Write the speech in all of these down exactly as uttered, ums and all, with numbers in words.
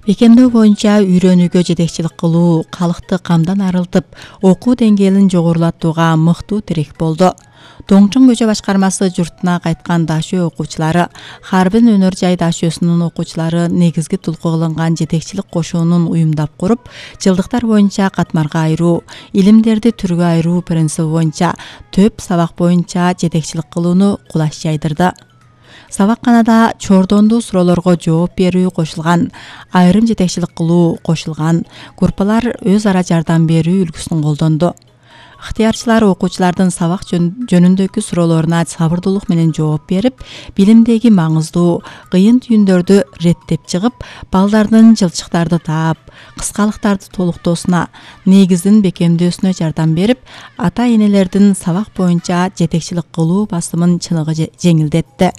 Бекемдөө боюнча үйрөнүүгө жетекчилик кылуу калкты камдан арылтып, окуу деңгээлин жогорулатууга мыктуу тирек болду. Доңчун көчө башкармасы журтуна кайткан дашөө окуучулары, Харбин өнөр жай дашөөсүнүн окуучулары негизги тулку кылынган жетекчилик кошуунун уюмдап куруп, жылдыктар боюнча катмарга айыруу, илимдерди түргө айыруу принциби боюнча төп сабак боюнча жетекчилик кылууну кулаш жайдырды. Сабакканада чордондуу суроолорго жооп берүү кошулган, айрым жетекчилик кылуу кошулган, группалар өз ара жардам берүү үлгүсүн колдонду. Ыктыярчылар окуучулардын сабак жөнүндөгү суроолоруна сабырдуулук менен жооп берип, билимдеги маңыздуу, кыйын түйүндөрдү реттеп чыгып, балдардын жылчыктарды таап, кыскалыктарды толуктоосуна, негизин бекемдөөсүнө жардам берип, ата-энелердин сабак боюнча жетекчилик кылуу басымын чыныгы жеңилдетти.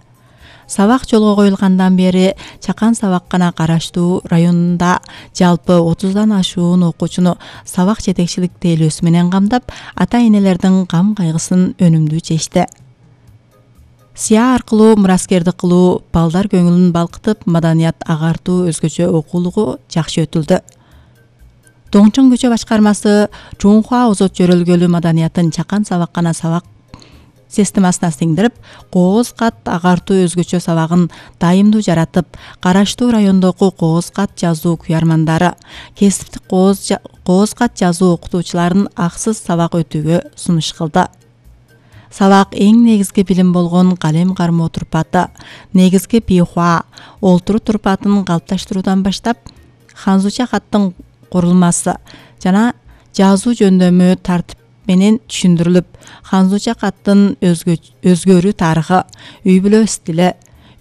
Сабак жолго коюлгандан бери Чакан сабаккана караштуу районунда жалпы отуздан ашуун окуучуну сабак жетекчилик тейлөөсү менен камдап, ата-энелердин кам кайгысын өнүмдүү чечти. Сыя аркылуу мураскердик кылуу, балдар көңүлүн балкытып, маданият агартуу өзгөчө окуулугу жакшы өтүлдү. Доңчун көчө башкармасы Чоңхуа озот жөрөлгөлү маданиятын Чакан сабаккана сабак системасына сиңдирип, кооз кат агартуу өзгөчө сабагын дайымдуу жаратып, караштуу райондогу кооз кат жазуу куярмандары, кесиптик кооз кат жазуу окутуучуларын аксыз сабак өтүүгө сунуш кылды. Сабак эң негизги билим болгон калем кармоо турпаты, негизги бихуа, олтуруу турпатын калыпташтыруудан баштап, ханзуча каттын курулмасы жана жазуу жөндөмү тартип менен түшүндүрүлүп, ханзуча каттын өзгөрүү тарыхы, үй бүлө стили,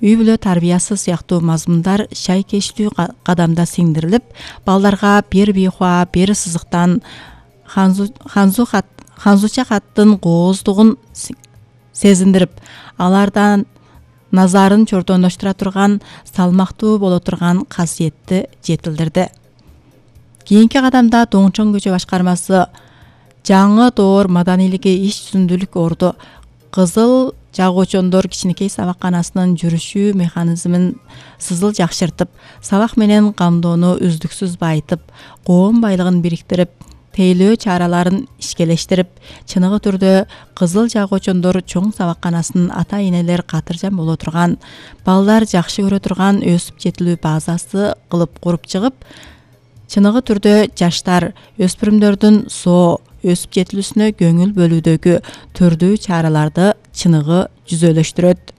үй бүлө тарбиясы сыяктуу мазмундар шайкештүү кадамда сиңдирилип, балдарга бир бихуа, бир сызыктан ханзуча каттын кооздугун сезиндирип, алардан назарын чордондоштура турган, салмактуу боло турган касиетти жетилдирди. Кийинки кадамда Доңчун көчө башкармасы жаңы доор маданилиги иш жүзүндүүлүк орду, кызыл жагуучондор кичинекей сабакканасынын жүрүшүү механизмин сызыл жакшыртып, сабак менен камдоону үздүксүз байытып, коом байлыгын бириктирип, тейлөө чараларын ишкелештирип, чыныгы түрдө кызыл жагуучондор чоң сабакканасынын ата-энелер катыржан боло турган, балдар жакшы көрө турган өсүп жетилүү базасы кылып куруп чыгып, чыныгы түрдө жаштар, өспүрүмдөрдүн соо, өсүп жетилүүсүнө көңүл бөлүүдөгү түрдүү чараларды чыныгы жүзөлөштүрөт.